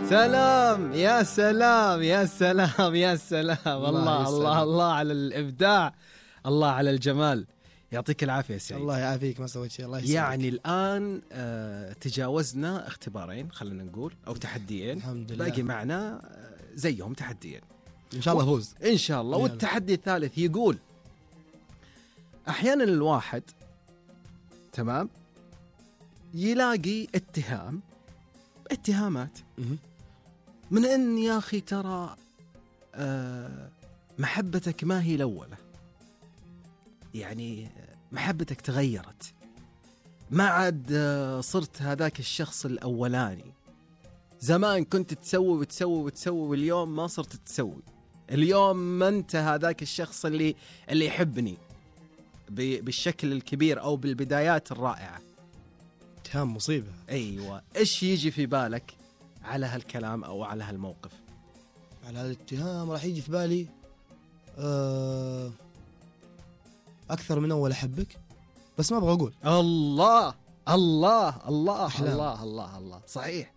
سلام يا سلام يا سلام يا سلام. الله الله الله على الإبداع، الله على الجمال. يعطيك العافية سعيد. الله يعافيك، ما سويت شيء. الله يسلمك. يعني الآن تجاوزنا اختبارين خلينا نقول أو تحديين، الحمد لله. باقي معنا زيهم تحديين إن شاء الله فوز إن شاء الله. والتحدي الثالث يقول أحيانا الواحد تمام يلاقي اتهامات من أن يا أخي ترى محبتك ما هي الأولى، يعني محبتك تغيرت، ما عاد صرت هذاك الشخص الأولاني. زمان كنت تسوي وتسوي وتسوي، واليوم ما صرت تسوي. اليوم ما أنت هذاك الشخص اللي يحبني بالشكل الكبير أو بالبدايات الرائعة. اتهام مصيبة. أيوة، إيش يجي في بالك على هالكلام أو على هالموقف؟ على هالاتهام راح يجي في بالي أكثر من أول أحبك، بس ما أبغى أقول. الله الله الله أحلام. الله الله الله، صحيح.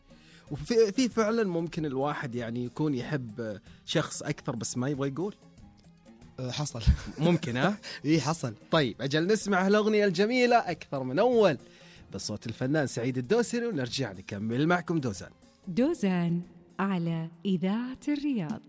وفي فعلا ممكن الواحد يعني يكون يحب شخص أكثر بس ما يبغى يقول. حصل. ممكن ها؟ إيه حصل. طيب أجل نسمع الأغنية الجميلة أكثر من أول بصوت الفنان سعيد الدوسري، ونرجع نكمل معكم دوزان على إذاعة الرياض.